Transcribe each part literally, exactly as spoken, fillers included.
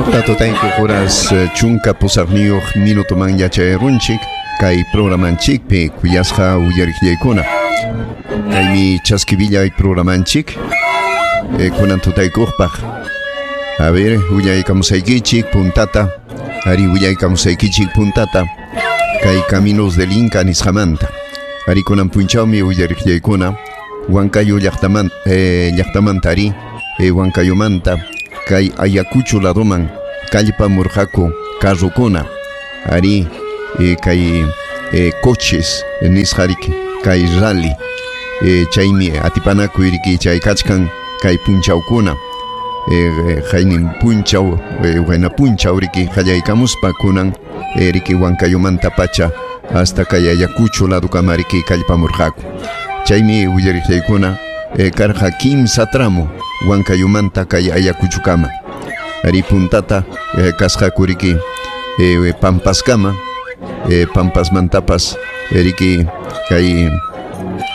Suqta tutayku horas chunka pusaqniyuq minutoman yachayarunchik kay programanchikpi kuyasqa uyariqllaykuna. Kaymi chaskivillay programanchik eh, kunan tutaykuqpaq. A ver, willaykamusaykichik puntata, ari willaykamusaykichik puntata kay Caminos del Inca nisqamanta. Ari kunan punchawmi uyariqllaykuna Huancayo llaqtaman eh, llaqtamanta ari eh, Huancayomanta kay Ayacucho ladoman kallpamurqaku carrokuna ari eh, kay eh, coches nisqa riki kay rally eh, chaymi atipanakuy riki chay kachkan kay punchawkuna eh, haynin punchaw eh, wayna punchaw riki qallaykamuspa kunan eh, riki Huancayomanta pacha hasta kay Ayacucho ladokama riki kallpamurqaku. Chaymi willariqllaykuna eh, karqa kimsa tramo Huancayomanta kay Ayacuchokama. Ari puntata eh, kasqaku riki eh, Pampaskama eh, Pampasmantapas riki kay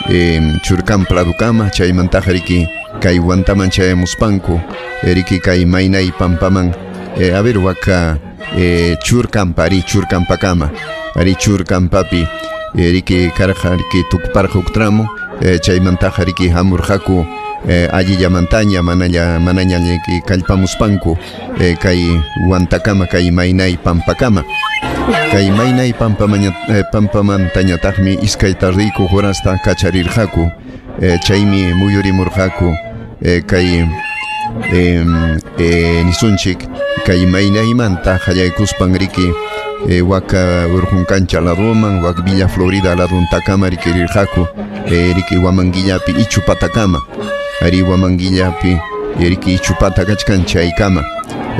eh, Churcampa ladokama chaymantaqa riki kay Huantaman chayamuspanku riki kay Maynay Pampaman eh, a ver waka eh, Churcampa ari Churcampakama ari Churcampapi riki karqa riki tukuparqa huk tramo eh, chaymantaqa riki hamurqaku eh, allillamantaña manaña manaña riki kallpamuspanku eh, kay Huantakama kay Maynay Pampakama. Kay Maynay Pampamaña eh, Pampamantañataqmi iskay tardiyku horasta kacharirqaku eh, chaymi muyurimurqaku eh, kay eh, eh, nisunchik kay Maynaymanta qallaykuspan riki eh, waka Urjunkancha ladoman wak Villa Florida laduntakama riki rirqaku eh, riki Huamanguillapi Ichupatakama ari Huamanguillapi riki Ichupata kachkan chaykama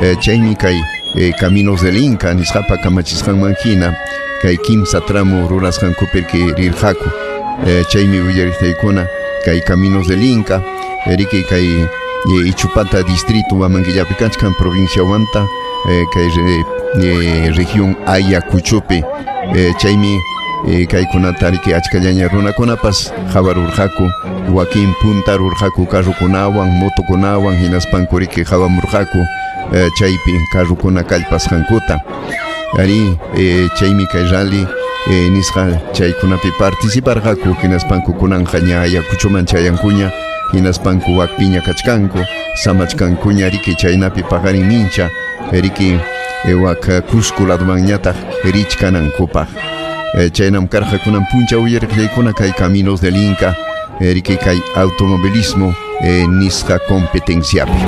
eh, chaymi kay eh, Caminos del Inca nisqapa kamachisqanman hina kay kimsa tramo rurasqankupi riki rirqaku eh, chaymi willariqtaykuna kay Caminos del Inca riki kay eh, Ichupata distrito Huamanguillapi kachkan provincia Huanta eh, kay eh, región Ayacuchopi eh, chaymi eh, kaykunata riki achkallaña runakunapas qhawarurqaku wakin puntarurqaku carrokunawan motokunawan hinaspanku riki qhawamurqaku eh, chaypi carrokuna kallpasqankuta ari eh, chaymi kay rally eh, nisqa chaykunapi participarqaku hinaspanku kunanqa ña Ayacuchoman chayankuña hinaspanku wakpiña kachkanku samachkankuña riki chaynapi paqarin mincha riki eh, wak Cusco ladomanñataq richkanankupaq. Eh, chaynam karqa kunan punchaw uyariqllaykuna kay Caminos del Inca eh, riki kay automovilismo eh, nisqa competenciapi.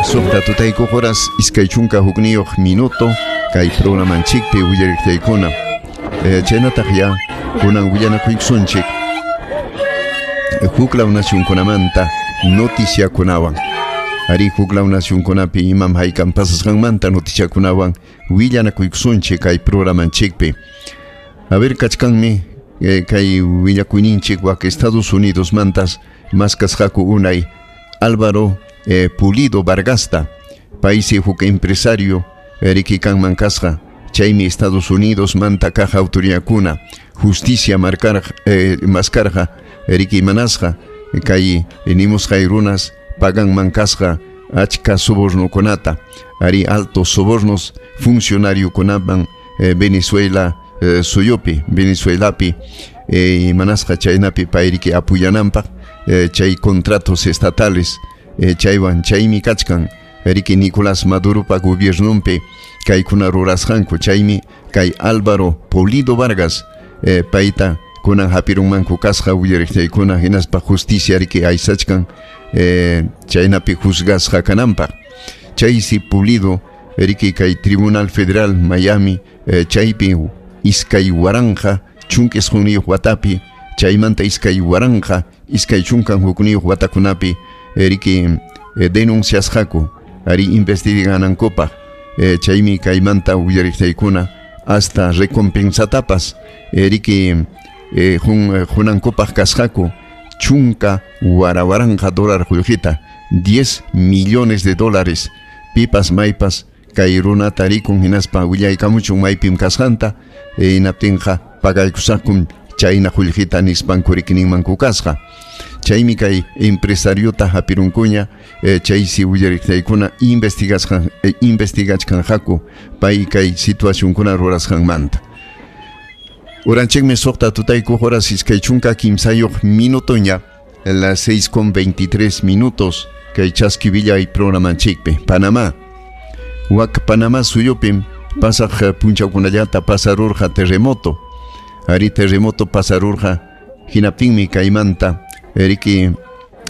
Suqta tutayku horas iskay chunka hukniyuq minuto kay programanchikpi uyariqllaykuna. Eh, chaynataq ya kunan willanakuykusunchik huklaw nacionkunamanta noticiakunawan. Ari huklaw nacionkunapi imam haykam pasasqanmanta noticiakunawan willanakuykusunchik kay programanchikpi. A ver, kachkanmi eh, kay willakuyninchik wak Estados Unidos mantas maskasqaku unay Álvaro eh, Pulido Vargasta paysi huk empresario eh, riki kanman kasqa chaymi Estados Unidos manta kaq autoridadkuna justicia marcar eh, maskarqa riki manasqa kay nimusqay runas paganman kasqa achka sobornokunata ari altos sobornos funcionariokunaman eh, Venezuela eh, suyupi Venezuelapi eh, manasqa chaynapi payriki apuyananpaq eh, chay contratos estatales eh, chaywan chaymi kachkan riki Nicolás Maduropa gobiernonpi kaykuna rurasqanku chaymi kay Álvaro Pulido Vargas eh, payta kunan hapirunmanku kasqa willariqtaykuna hinaspa justicia riki aysachkan eh, chaynapi juzgasqa kananpaq. Chaysi Pulido riki kay Tribunal Federal Miami eh, chaypi iskay waranqa chunka isqunniyuq watapi chaymanta iskay waranqa iskay chunkan hukniyuq watakunapi riki eh, denunciasqaku ari investiganankupaq eh, chaymi kaymanta willariqtaykuna hasta recompensatapas eh, riki eh, jun, junankupaq kasqaku chunka warawaranqa dólar qullqita diez millones de dólares pipas maypas kay runata rikun hinaspa willaykamuchun maypim kasqanta hinaptinqa pagaykusaqkum chayna qullqita nispanku rikininmanku kasqa. Chaymi kay empresariota hapirunkuña eh, chaysi willariqtaykuna investigasqan eh, investigachkanqaku pay kay situacionkuna rurasqanmanta. Uranchikmi suqta tutayku horas iskay chunka kimsayuq minutoña, las seis con veintitrés minutos kay chaskivillay programanchikpi. Panamá. Wak Panamá suyupim pasaq punchawkunallata pasarurqa terremoto. Ari terremoto pasarurqa hinaptinmi kaymanta eriki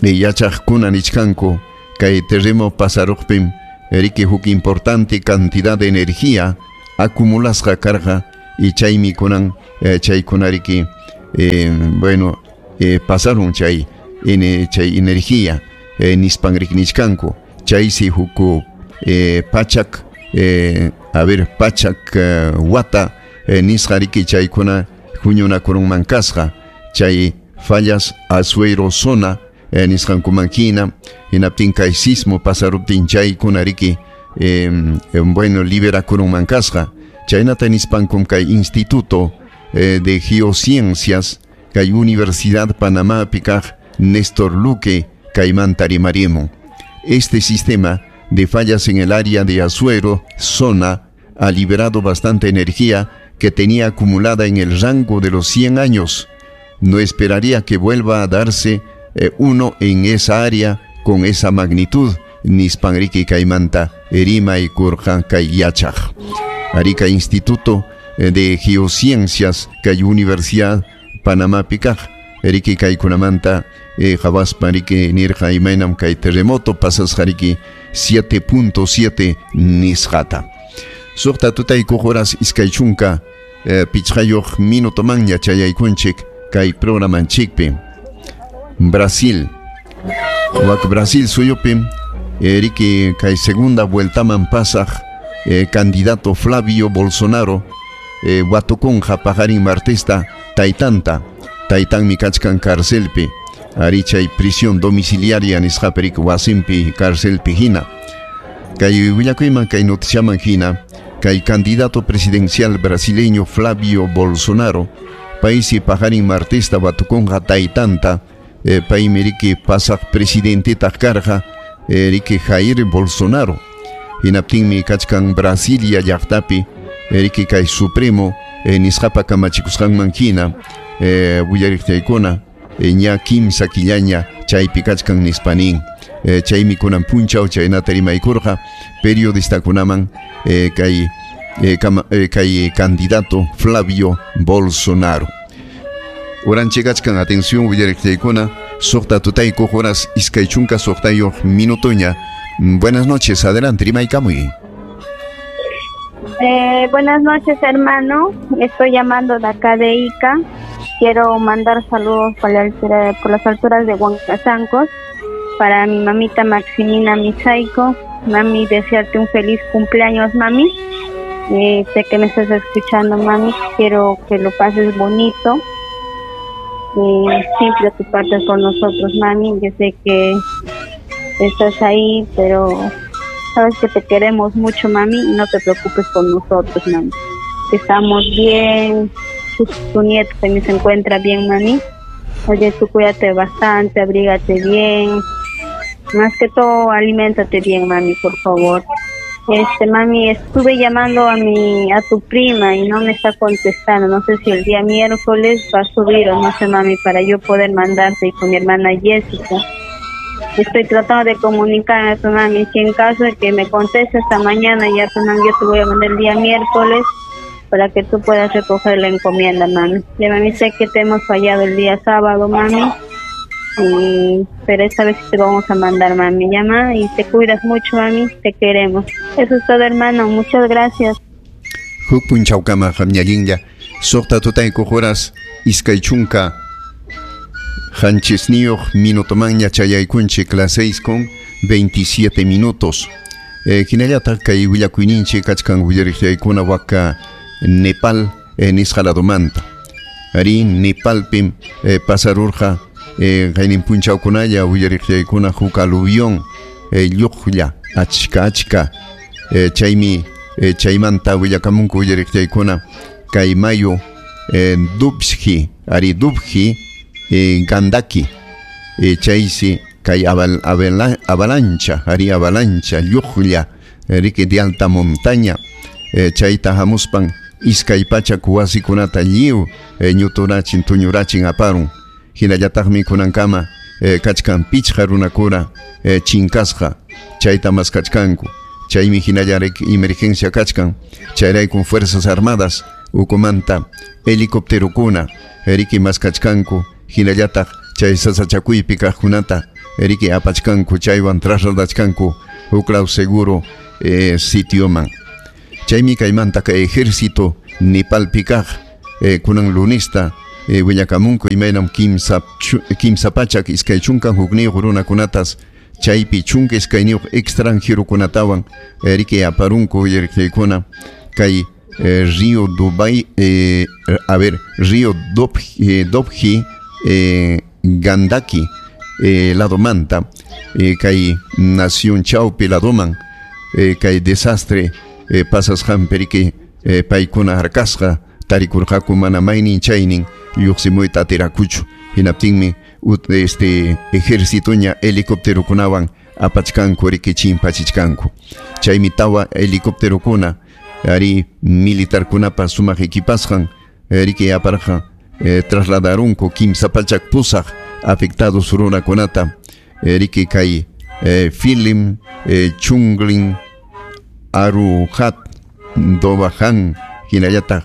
yachaqkuna nichkanku kay terremoto pasaruqpim eriki huk importante cantidad de energía acumulasqa karqa y chaymi kunan eh, chaykunariki eh, bueno eh, pasaron chay ene, chay energía eh, nispan nichkanku chaysi huku eh, pachak eh, a ver pachak eh, wata eh, nisqariki chaykuna huñunakurunman kasqa chay fallas Azuero zona eh, nisqankuman hina hinaptin kay sismo pasaruptin chaykunariki eh, eh, bueno liberakurunman kasqa chaynata nispankum kay Instituto eh, de Geociencias kay Universidad Panamá pikaq Néstor Luque kaymanta rimarimun. Este sistema de fallas en el área de Azuero zona ha liberado bastante energía que tenía acumulada en el rango de los cien años. No esperaría que vuelva a darse eh, uno en esa área con esa magnitud. Nispanriki kaymanta erima y kurja kay yachaq. Arica Instituto de Geociencias kay Universidad Panamá pikaq. Eriki kaykunamanta eh, qhawaspa riki nirqa imaynam kay terremoto pasasqariki siete punto siete nisqata. Suqta tutaykuq horas iskay chunka eh, pichqayuq minutomanña chayaykunchik kay programanchikpi. Brasil. Wak Brasil suyupi eriki kay segunda vueltaman pasaq eh, candidato Flavio Bolsonaro eh, watukunqa paqarin martesta taytanta. Taytanmi kachkan carcelpi ari chay prisión domiciliaria nisqapi wasinpi carcelpi hina. Kay willakuyman kay noticiaman hina kay candidato presidencial brasileño Flavio Bolsonaro paysi paqarin martesta watukunqa taytanta eh, paymi riki pasaq presidentetaq karqa eh, riki Jair Bolsonaro. Hinaptinmi kachkan Brasilia llaqtapi riki kay Supremo eh, nisqapa kamachikusqanman hina eh, willariqtaykuna eh, ña kimsa killaña chaypi kachkan nispanin eh, chaymi kunan punchaw chaynata rimaykurqa periodistakunaman eh, kay eh, kama, eh, kay candidato Flavio Bolsonaro. Uranchikachkan atención willariqtaykuna suqta tutaykuq horas iskay chunka suqtayuq minutoña. Buenas noches, adelante, rimaykamuy. Eh, buenas noches, hermano. Estoy llamando de acá de Ica. Quiero mandar saludos por, la altura, por las alturas de Huancasancos para mi mamita Maximina Misaico. Mami, desearte un feliz cumpleaños, mami. Eh, sé que me estás escuchando, mami. Quiero que lo pases bonito. Eh, sin preocuparte por nosotros, mami. Yo sé que estás ahí, pero sabes que te queremos mucho, mami, y no te preocupes por nosotros, mami. Estamos bien, tu, tu nieto también se encuentra bien, mami. Oye, tú cuídate bastante, abrígate bien. Más que todo, aliméntate bien, mami, por favor. Este, mami, estuve llamando a mi, a tu prima y no me está contestando. No sé si el día miércoles va a subir o no sé, mami, para yo poder mandarte y con mi hermana Jessica. Estoy tratando de comunicarme a tu mami. Si en caso de que me conteste esta mañana, ya tu mami, yo te voy a mandar el día miércoles para que tú puedas recoger la encomienda, mami. Ya, mami, sé que te hemos fallado el día sábado, mami, y, pero esta vez te vamos a mandar, mami. Llama y te cuidas mucho, mami, te queremos. Eso es todo, hermano, muchas gracias. Huk punchawkama qamñallinlla suqta tutaykuq horas iskay chunka qanchisniyuq minutomanña chayaykunchik las seis con veintisiete minutos. Eh, hinallataq kay willakuyninchik kachkan willariqllaykuna waka Nepal eh, nisqa ladomanta. Ari Nepalpim eh, pasarurqa eh, qaynin punchawkunalla willariqllaykuna huk aluvión eh, lluqlla achka achka eh, chaymi eh, chaymanta willakamunku willariqllaykuna kay mayu eh, Dubji, ari Dubji eh, Gandaki. eh, chaysi kay aval, avala, avalancha ari avalancha lluqlla riki de alta montaña eh, chayta hamuspan iskay pachak wasikunata lliw eh, ñuturachin tuñurachin aparun hinallataqmi kunankama eh, kachkan pichqa runakuna eh, chinkasqa chayta maskachkanku chaymi hinalla emergencia kachkan chayraykun fuerzas armadas ukumanta helicópterokuna riki maskachkanku hinallataq chay sasachakuypi kaqkunata riki apachkanku chaywan trasladachkanku huklaw seguro eh, sitioman chaymi kaymanta kay ejército Nepalpi kaq eh, kunan lunista eh, willakamunku imaynam kimsa kimsa pachak iskay chunka hukniyuq runakunatas chaypi chunka iskayniyuq extranjerokunatawan eh, riki aparunku uyariqllaykuna kay eh, río Dubai eh, a ver río Dobji, eh, Dobji eh, Gandaki eh, ladomanta eh, kay nación chawpi ladoman eh, kay desastre eh, pasasqanpi riki eh, paykuna harkasqa tarikurqaku mana maynin chaynin lluqsimuyta atirakuchu hinaptinmi ut, este ejércitoña helicópterokunawan apachkanku riki chimpachichkanku chaymi tawa helicópterokuna ari militarkunapa sumaq equipasqan riki aparqa eh, trasladarunku kimsa pachak pusaq afectados runakunata riki kay eh, Filim eh, Chunglin Aruhat Dobajan hinallataq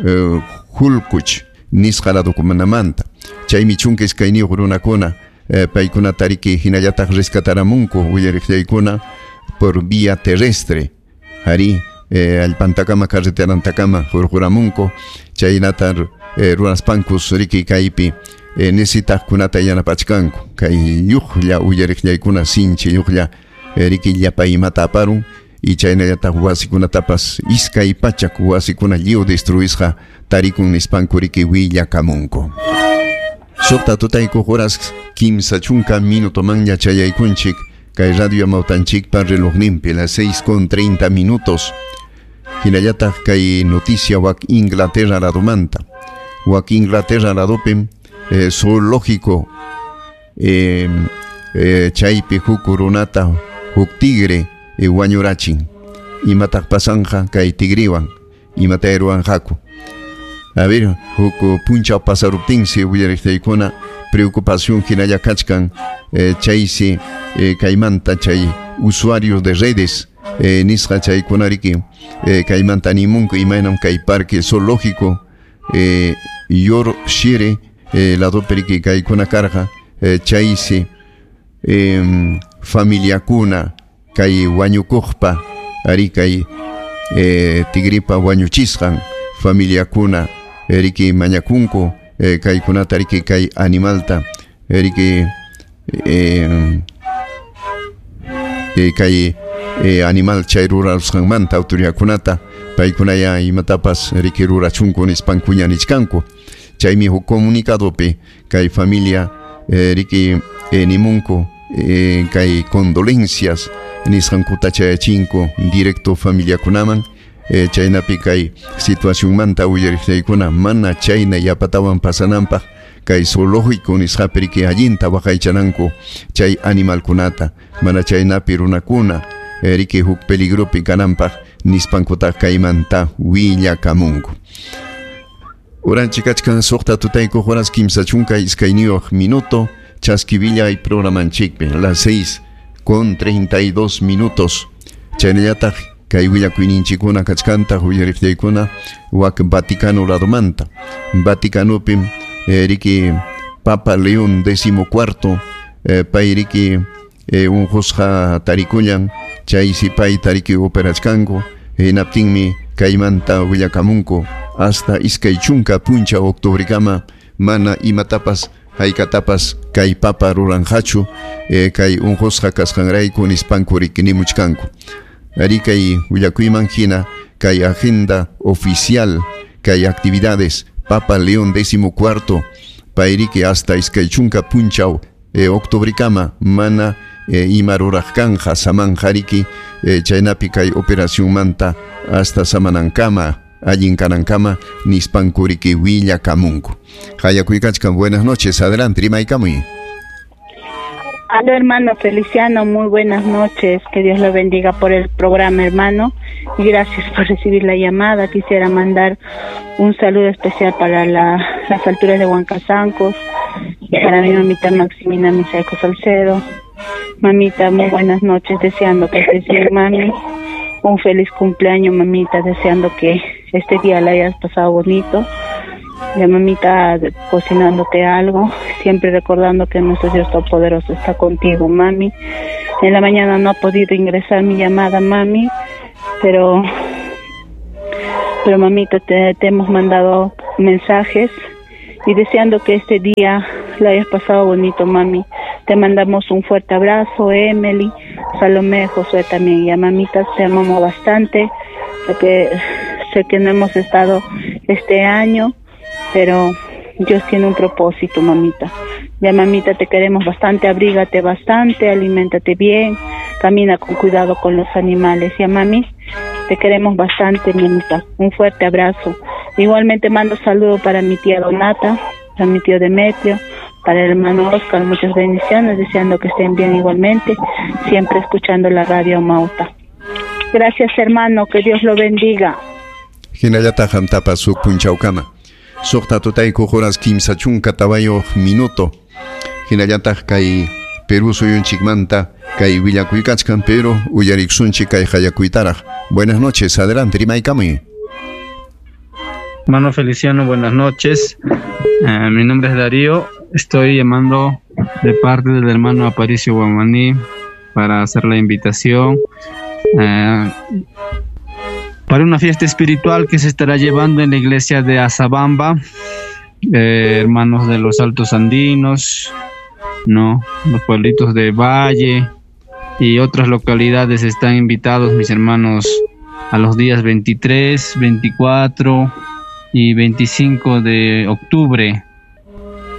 eh, Hulkuch nisqa ladokunamanta chaymi chunka iskayniyuq runakuna eh, paykunata riki hinallataq rescataramunku willariqllaykuna por vía terrestre ari eh, allpantakama carreterantakama hurquramunku chaynata eh, runaspankus riki kaypi eh, necesitaqkunata yanapachkanku kay lluqlla uyariqllaykuna sinchi lluqlla eh, riki llapa imata aparun y chaynallataq wasikunatapas iskay pachak wasikuna lliw destruisqa tarikun nispanku riki willakamunku. Suqta tutaykuq horas kimsa chunka minutomanña chayaykunchik kay radio Amawtanchikpa relojninpi las seis con treinta minutos. Hinallataq kay noticia wak Inglaterra ladomanta wak Inglaterra ladopim eh, zoológico eh, eh, chaypi huk runata huk tigre eh, wañurachin imataq pasanja kay tigriwan imatay ruwanqaku a ver huk punchaw pasaruptinsi willariqtaykuna preocupación hinalla kachkan eh, chaysi eh, kaymanta chay usuarios de redes eh, nisqa chaykuna riki eh, kaymanta nimunku imaynam kay parque zoológico eh, Yorkshire eh, ladopi riki kaykuna karqa eh, chaysi eh, familiakuna kay wañukuqpa ari kay eh, tigripa wañuchisqan familiakuna riki mañakunku eh, kaykunata riki kay animalta riki eh, eh, kay eh, animal chay rurasqanmanta autoridadkunata paykunaya imatapas riki rurachunku nispankuña nichkanku chaymi huk comunicadopi kay familia eh, riki eh, nimunku eh, kay condolencias nisqankuta chayachinku directo familiakunaman eh, chaynapi kay situacionmanta uyariqllaykuna mana chayna yapatawan pasananpaq kay zoológico nisqapi riki allinta waqaychananku chay animalkunata mana chaynapi runakuna eh, riki huk peligropi kananpaq nispankutaq kaymanta willakamunku. Uranchik kachkan suqta tutaykuq horas kimsa chunka iskayniyuq minuto chaskivillay programanchikpi las seis con treinta y dos minutos chaynallataq kay willakuyninchikkuna kachkanta uyariqllaykuna wak Vaticano ladomanta Vaticanopim eh, riki Papa León décimo cuarto eh, pay riki eh, unqusqa tarikullan chaysi pay tariki operachkanku hinaptinmi kaymanta willakamunku hasta iskay chunka punchaw octubrekama mana imatapas haykatapas kay papa ruranqachu eh, kay unqusqa kasqanrayku nispanku riki nimuchkanku ari kay willakuyman hina kay agenda oficial kay actividades Papa León décimo cuarto payriki hasta iskay chunka punchaw eh, octubrekama mana eh, ima ruraq kanja samanja riki eh, chaynapi kay operacionmanta hasta samanankama allin kanankama nispanku riki willakamunku. Hayakuykachkan, buenas noches, adelante, rimaykamuy. Aló, hermano Feliciano, muy buenas noches. Que Dios lo bendiga por el programa, hermano. Y gracias por recibir la llamada. Quisiera mandar un saludo especial para la, las alturas de Huancasancos, para mi mamita Maximina Misaico Salcedo. Mamita, muy buenas noches, deseando que estés bien, mami. Un feliz cumpleaños, mamita, deseando que este día la hayas pasado bonito. La mamita cocinándote algo, siempre recordando que nuestro Dios Todopoderoso está contigo, mami. En la mañana no ha podido ingresar mi llamada, mami, pero, pero mamita, te, te hemos mandado mensajes y deseando que este día lo hayas pasado bonito, mami. Te mandamos un fuerte abrazo, Emily, Salomé, Josué también. Y a mamita te amamos bastante, porque sé que no hemos estado este año, pero Dios tiene un propósito, mamita. Ya, mamita, te queremos bastante, abrígate bastante, aliméntate bien, camina con cuidado con los animales. Ya, mami, te queremos bastante, mamita. Un fuerte abrazo. Igualmente mando saludo para mi tía Donata, para mi tío Demetrio, para el hermano Oscar, muchas bendiciones, deseando que estén bien igualmente, siempre escuchando la radio Mauta. Gracias, hermano, que Dios lo bendiga. Hinallataq qamtapas huk punchawkama. Suqta tutayku horas kimsa chunka tawayuq minuto. Hinallataq kay Perú suyunchikmanta kay willakuykachkan, pero uyariksunchik kay hayakuytaraq. Buenas noches, adelante, rimaykamuy. Hermano Feliciano, buenas noches. Eh, mi nombre es Darío. Estoy llamando de parte del hermano Aparicio Guamaní para hacer la invitación eh, para una fiesta espiritual que se estará llevando en la iglesia de Azabamba, eh, hermanos de los Altos Andinos, no, los pueblitos de Valle y otras localidades están invitados, mis hermanos, a los días veintitrés, veinticuatro y veinticinco de octubre.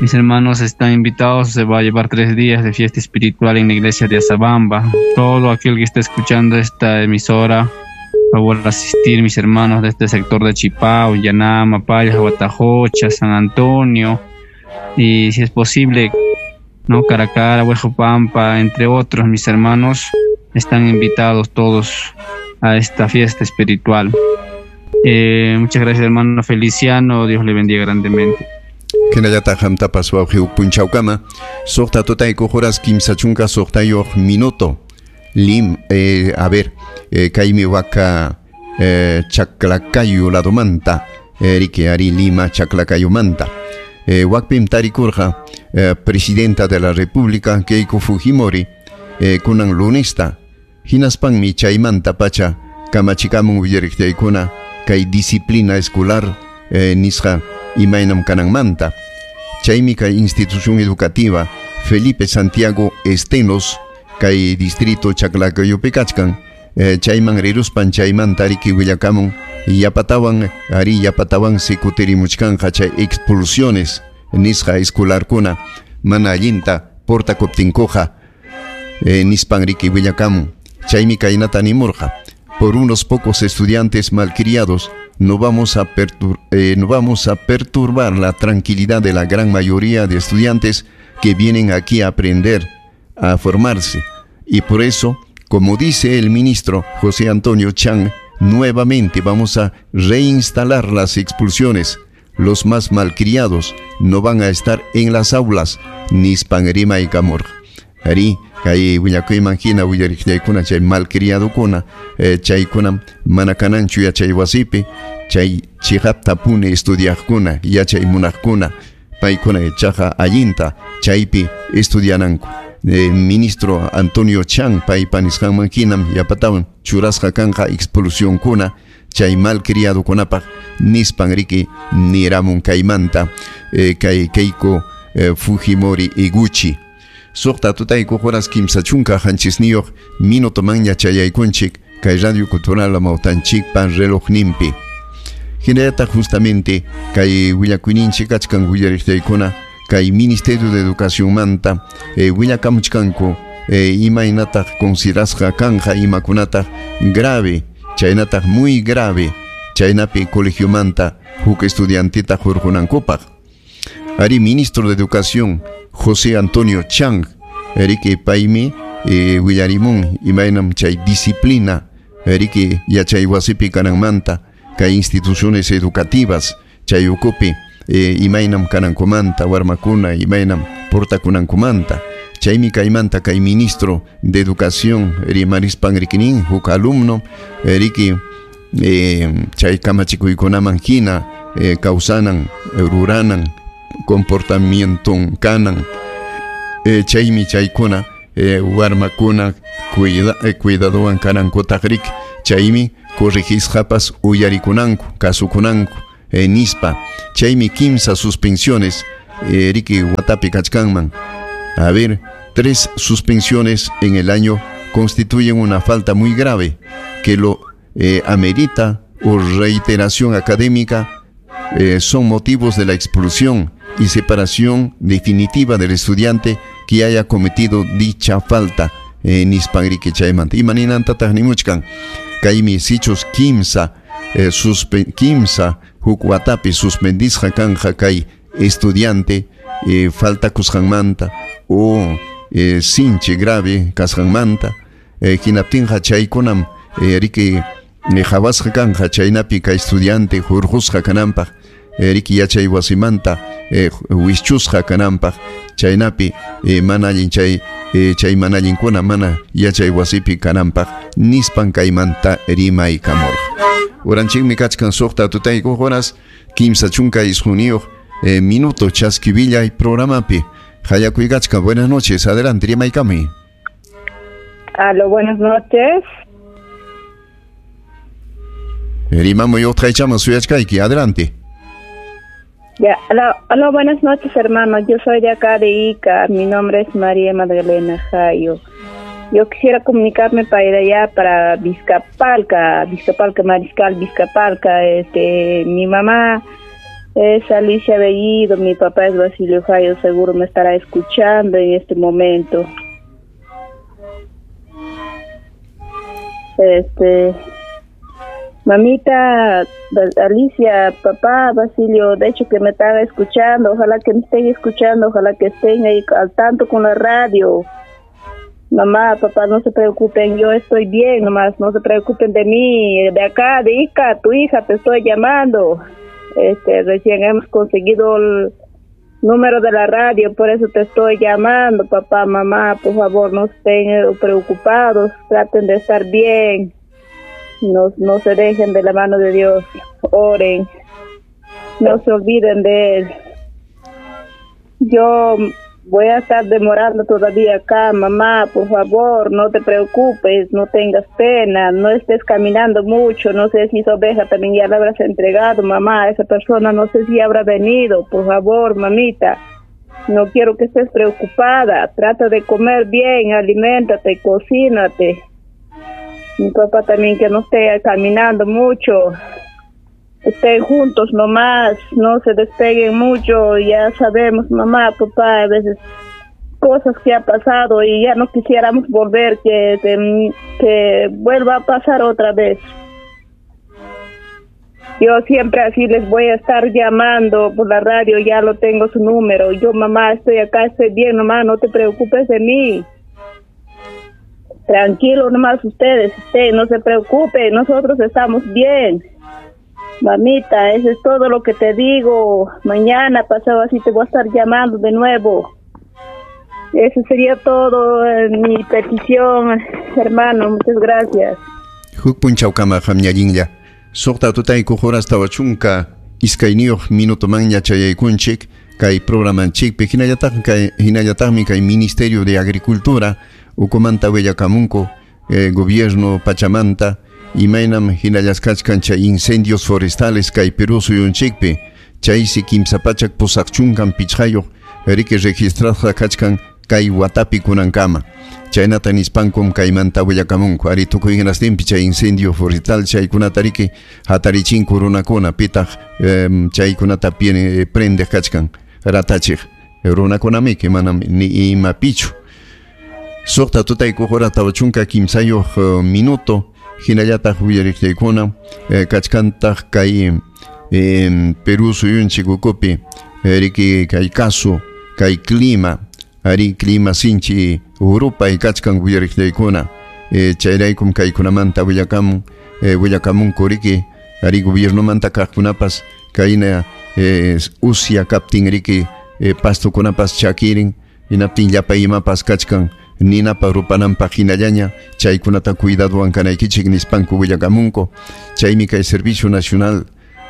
Mis hermanos están invitados, se va a llevar tres días de fiesta espiritual en la iglesia de Azabamba. Todo aquel que esté escuchando esta emisora, por favor asistir, mis hermanos de este sector de Chipao, Yanama, Payas, Huatajocha, San Antonio, y si es posible, no, Caracara, Huejopampa, entre otros, mis hermanos, están invitados todos a esta fiesta espiritual. Eh, muchas gracias, hermano Feliciano, Dios le bendiga grandemente. Hinallataq qamtapas wawqi huk punchawkama. Suqta tutayku horas kimsa chunka suqtayuq minuto. Lim, eh, a ver, eh, kaymi waka eh, Chaclacayo ladomanta, eh, riki ari Lima Chaclacayomanta. Eh, wakpim tarikurqa, eh, presidenta de la República Keiko Fujimori, eh, kunan lunesta. Hinaspanmi chaymanta pacha kamachikamun willariqtaykuna kay disciplina escolar eh, nisqa imaynam kananmanta. Chaymi kay institución educativa Felipe Santiago Estenos kay distrito Chaclacayopi kachkan, eh, chayman riruspan chaymanta riki willakamun yapatawan ari yapatawan sikutirimuchkanqa chay expulsiones nisqa escolarkuna mana allinta portakuptinkuqa, eh, nispan riki willakamun. Chaymi kaynata nimurqa: por unos pocos estudiantes malcriados no vamos a pertur- eh, no vamos a perturbar la tranquilidad de la gran mayoría de estudiantes que vienen aquí a aprender, a formarse. Y por eso, como dice el ministro José Antonio Chang, nuevamente vamos a reinstalar las expulsiones. Los más malcriados no van a estar en las aulas, nispan rimaykamurqa. Ari, kay willakuyman hina willariqllaykuna chay malcriadokuna, eh, chaykuna mana kananchu yachay wasipi, chay chiqaptapuni estudiaqkuna, yachay munaqkuna, paykuna ichaqa allinta chaypi estudiananku. Eh, ministro Antonio Chang paypa nisqanman hinam yapatawan churasqa kanqa expulsionkuna chay malcriadokunapaq nispan riki niramun kaymanta, eh, kay Keiko eh, Fujimori Iguchi. Suqta tutayku horas kimsa chunka qanchisniyuq minuto manña chayaykunchik kay Radio Cultural Amawtanchikpa relojninpi. Hinallataq justamente kay willakuyninchik kachkan willariqtaykuna kay Ministerio de Educación manta, eh, willakamuchkanku, eh, imaynataq considerasqa kanja imakunataq grave, chaynataq muy grave, chaynapi colegiomanta huk estudiantita hurqunankupaq. Ari ministro de Educación José Antonio Chang Riki paymi eh, willarimun imaynam chay disciplina riki yachay wasipi kananmanta kay instituciones educativas chay ukupi eh, imaynam kanankumanta warmakuna imaynam portakunankumanta chaymi kaymanta kay ministro de educación rimarispan rikinin huk alumno riki eh, chay kamachikuykunaman hina eh, kawsanan ruranan comportamienton kanan eh, chaymi chaykuna eh, warmakuna cuida, eh, cuidadowan kanankutaq riki chaymi corregisqapas uyarikunanku kasukunanku eh, nispa chaymi kimsa suspensiones eh, riki watapi kachkanman. A ver, tres suspensiones en el año constituyen una falta muy grave que lo eh, amerita o reiteración académica eh, son motivos de la expulsión y separación definitiva del estudiante que haya cometido dicha falta eh, nispan riki chaymanta. Imaninantataq nimuchkan kaymi sichus kimsa eh, suspe, kimsa huk watapi suspendisqa kanja kay estudiante eh, falta kusqanmanta o eh, sinchi grave kasqanmanta eh, hinaptinqa chaykunam eh, riki qhawasqa kanja chaynapi kay estudiante hurqusqa kananpaq eh, riki yachay wasimanta eh, wischusqa kananpaq chaynapi eh, mana allin chay eh, chay mana allinkuna mana yachay wasipi kananpaq nispan kaymanta rimaykamurqa. Uranchikmi kachkan suqta tutaykuq horas kimsa chunka isquniyuq eh, minuto chaskivillay programapi hayakuykachkan. Buenas noches, adelante rimaykami. Aló, buenas noches. Rimamuy utqaychaman suyachkayki, adelante. Ya, aló, aló, buenas noches, hermano. Yo soy de acá de Ica. Mi nombre es María Magdalena Jayo. Yo quisiera comunicarme para ir allá, para Vizcapalca, Vizcapalca, Mariscal, Vizcapalca. Este, mi mamá es Alicia Bellido, mi papá es Basilio Jayo, seguro me estará escuchando en este momento. Este, mamita Alicia, papá Basilio, de hecho que me estaba escuchando, ojalá que me estén escuchando, ojalá que estén ahí al tanto con la radio. Mamá, papá, no se preocupen, yo estoy bien nomás, no se preocupen de mí, de acá, de Ica, tu hija, te estoy llamando. Este, recién hemos conseguido el número de la radio, por eso te estoy llamando, papá, mamá, por favor, no estén preocupados, traten de estar bien. No, no se dejen de la mano de Dios, oren, no se olviden de Él. Yo voy a estar demorando todavía acá, mamá, por favor, no te preocupes, no tengas pena, no estés caminando mucho, no sé si esa oveja también ya la habrás entregado, mamá, esa persona no sé si habrá venido, por favor, mamita, no quiero que estés preocupada, trata de comer bien, aliméntate, cocínate. Mi papá también que no esté caminando mucho, estén juntos nomás, no se despeguen mucho, ya sabemos, mamá, papá, a veces cosas que ha pasado y ya no quisiéramos volver, que, que, que vuelva a pasar otra vez. Yo siempre así les voy a estar llamando por la radio, ya lo tengo su número. Yo, mamá, estoy acá, estoy bien, mamá, no te preocupes de mí. Tranquilo nomás ustedes, estén, no se preocupen, nosotros estamos bien. Mamita, eso es todo lo que te digo. Mañana pasado así te voy a estar llamando de nuevo. Eso sería todo, eh, mi petición, hermano. Muchas gracias. Huk punchawkama qamñallinlla. Suqta tutaykuq horas tawa chunka iskayniyuq minutomanña chayaykunchik kay programanchikpi hinallataq kay hinallataqmi kay Ministerio de Agricultura ukumanta willakamunku eh, gobierno pachamanta imaynam hinallasqachkan chay incendios forestales kay Perú suyunchikpi chaysi kimsa pachak pusaq chunkan pichqayuq riki registrasqa kachkan kay watapi kunankama chaynata nispankum kaymanta willakamunku ari tukuy hinastinpi chay incendio forestal chaykunata riki hatarichinku runakuna pitaq eh, chaykunata prendeq kachkan ratachiq runakunamiki manam ni imapichu. Suqta tutaykuq hora tawa chunka kimsayuq uh, minuto hinallataq willariqllaykuna eh, kachkantaq kay eh, Perú suyunchik ukupi eh, riki kay caso kay clima Ari clima sinchi urupay kachkan uyariqllaykuna eh, chayraykum kaykunamanta willakamun eh, willakamunku riki ari gobiernomanta kaqkunapas kayna eh, usya kaptin riki eh, pastukunapas chakirin hinaptin llapa imapas kachkan ninapa rupananpaq hinallaña chaykunata cuidadowan kanaykichik nispanku willakamunku chaymi kay Servicio Nacional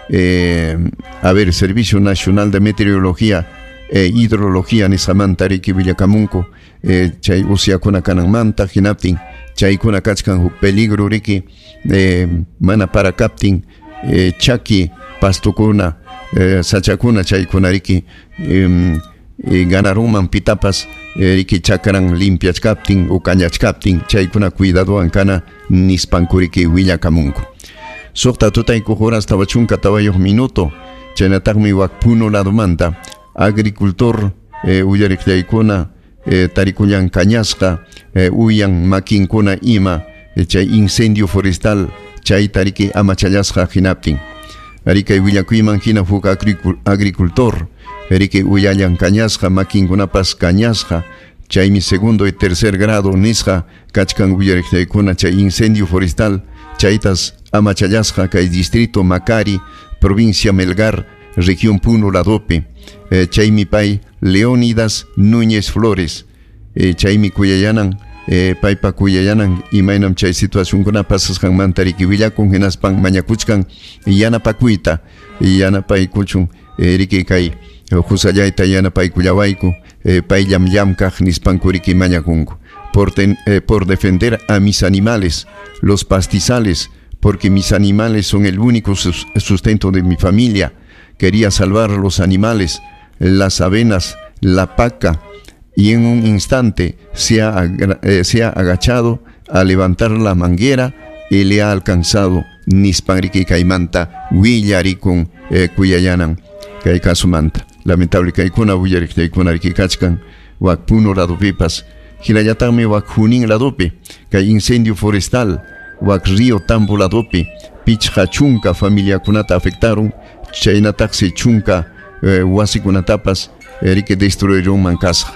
eh, a ver, Servicio Nacional de Meteorología e Hidrología nisqamanta riki willakamunku eh, chay usyakuna kananmanta hinaptin chaykuna kachkan huk peligro riki eh, mana para kaptin eh, chaki pastukuna eh, sachakuna chaykuna riki eh, eh, ganarunman pitapas eh, riki chakran limpiachkaptin o kañachkaptin chaykuna cuidadowan kana nispanku riki willakamunku. Suqta tutaykuq horas tawa chunka tawayuq minuto chaynataqmi wak Puno ladomanta agricultor eh, uyariqllaykuna eh, tarikullan kañasqa eh, uyan makinkuna ima eh, chay incendio forestal chay tariki amachallasqa hinaptin arikay willakuyman hina huk agricultor riki uyallan kañasqa makinkunapas kañasqa chaymi segundo y tercer grado nisqa kachkan uyariqllaykuna chay incendio forestal chaytas amachallasqa kay distrito Macari provincia Melgar región Puno ladopi eh, chaymi pay Leónidas Núñez Flores eh, chaymi kuyayanan eh, paypa kuyayanan imaynam chay situacionkuna pasasqanmanta riki willakun hinaspan mañakuchkan yanapakuyta yanapaykuchun eh, riki kay husallayta yanapaykullawayku eh, payllam llamkaq nispanku riki mañakunku por, ten, eh, por defender a mis animales, los pastizales, porque mis animales son el único sustento de mi familia. Quería salvar los animales, las avenas, la paca, y en un instante se ha, eh, se ha agachado a levantar la manguera y le ha alcanzado nispan riki kaymanta willarikun eh, kuyayanan kay kasumanta. Lamentable kaykuna willariqllaykuna riki kachkan wak Puno ladopipas hinallataqmi wak Junín ladopi kay incendio forestal wak Río Tambo ladopi pichqa chunka familiakunata afectaron chaynataqsi chunka eh, wasikunatapas riki destruirunman kasqa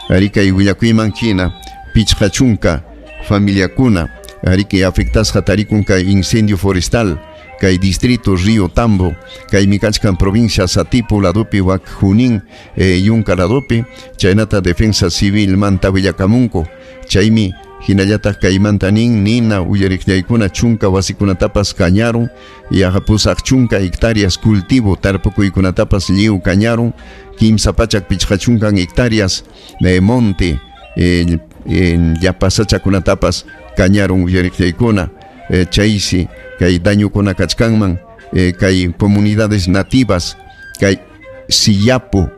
riki willakuyman hina pichqa chunka familiakuna riki afectasqa tarikun kay incendio forestal kay distrito Río Tambo kaymi kachkan provincia Satipo ladopi wak Junín eh, yunka ladopi chaynata defensa civil manta willakamunku chaymi hinallataq kaymanta nin nina uyariqllaykuna chunka wasikunatapas kañarun yaqa pusaq chunka hectáreas cultivo tarpukuykunatapas lliw kañarun kimsa pachak pichqa chunkan hectáreas de monte eh, eh, llapa sachakunatapas kañarun uyariqllaykuna eh, chaysi kay dañukuna kachkanman eh, kay comunidades nativas kay Sillapu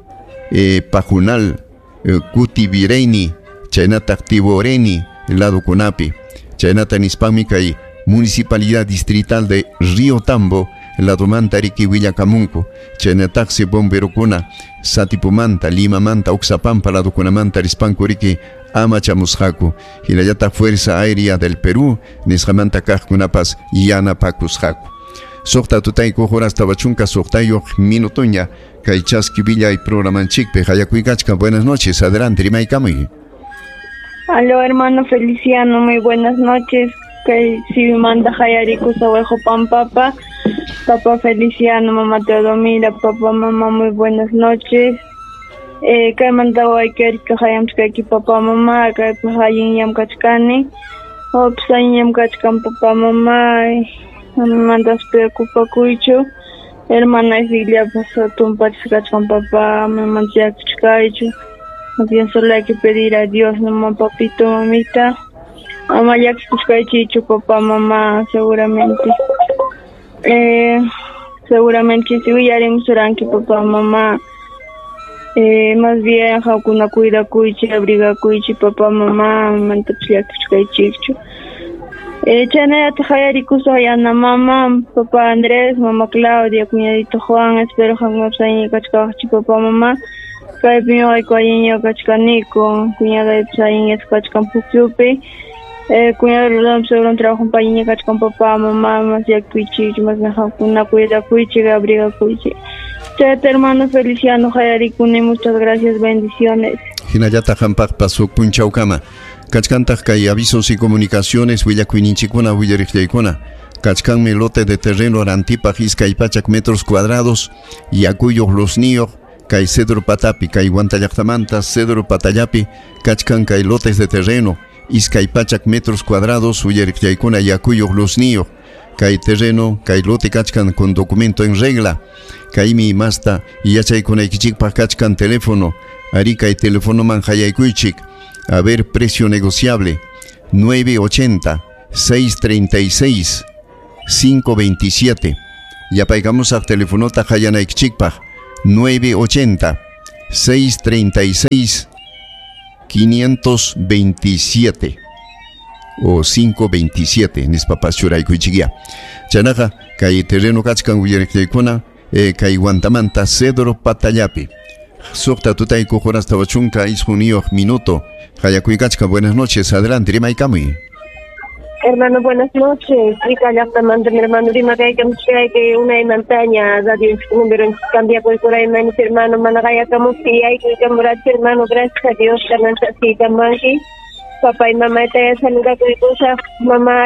eh, Pajunal eh, Kutivireni chaynataq Tiboreni ladokunapi chaynata nispanmi kay municipalidad distrital de Río Tambo ladomanta riki willakamunku chaynataqsi bomberokuna Satipumanta Limamanta Oxapampa ladokunamanta rispanku riki amachamusqaku hinallataq Fuerza Aérea del Perú nisqamanta kaqkunapas yanapakusqaku. Suqta tutaykuq horas tawa chunka suqtayuq minutoña kay chaski villay programanchikpi hayakuykachkan. Buenas noches, adelante rimaykamuy. Aló, hermano Feliciano, muy buenas noches. Kay Sibimanta hayariku sawejo pampapa. Papá Feliciano, mamá Teodomira, papá, mamá, muy buenas noches. Eh, kaymanta waykarika hayamchkayki papá, mamá, kaypaq allinyam kachkani. Wapas allinyam kachkan papá, mamá, mantas preocupakuychu. Hermana Isiliapas tumpachis kachkan papá, mamanta llakichkaychu. Más bien solo hay que pedir a Dios, mamá, papito, mamita. Mamá, llakichkaychichu, papá, mamá, seguramente. Eh, seguramente si willarimsuranki papá, mamá. Eh, más bien qamkuna cuidakuychik, abrigakuychik, papá, mamá, mantapas llakichkaychikchu. Eh, chaynallataq hayarikusaq yana mamá, papá Andrés, mamá Claudia, cuñadito Juan, espero qamkunapas allinlla kachkawaqchik, papá, mamá. Kaypi ñuqayku allinlla kachkaniku, cuñadaypas allinlla kachkan pukyupi. Eh, cuñado Rolando seguro trabajo allinlla kachkan papá, mamá, más llakikuychikchu, más bien qamkuna cuidakuychik, abrigakuychik. Chayta hermano Feliciano hayarikuni, muchas gracias, bendiciones. Hinallataq qampaqpas huk punchawkama. Kachkantaq kay avisos y comunicaciones willakuyninchikkuna willariqllaykuna. Kachkanmi lote de terreno rantipaq iskay pachak metros cuadrados yakuyuq luzniyuq kay Cedro Patapi, kay Huanta llaqtamanta Cedro Patallapi, kachkan kay lotes de terreno iskay pachak metros cuadrados uyariqllaykuna yakuyuq luzniyuq kay terreno kay lote kachkan con documento en regla. Kaymi masta yachaykunaykichikpaq kachkan teléfono, ari kay telefonoman hayaykuychik. A ver, precio negociable nueve ochenta, seis treinta y seis, cinco veintisiete. Yapaykamusaq telefonota hayanaykichikpaq nueve ochenta, seis treinta y seis, quinientos veintisiete o cinco veintisiete nispapas churaykuychikia. Chaynaqa kay terreno kachkan willariqllaykuna, eh, kay Huantamanta Cedro Patallapi. Suqta tutayku horas tawa chunka isquniyuq minuto. Hayakuykachka, buenas noches, adelante, rimaykamuy. Hermano, buenas noches. Rica llaqtamanta, mi hermano, rimakaykamuchkay que una montaña, radio número cambia por por ahí, hermano, managayakamusti, aykuykamurachi, hermano, gracias a Dios, kananchasiykamanki. Papá y mamá te saluda con cosa, mamá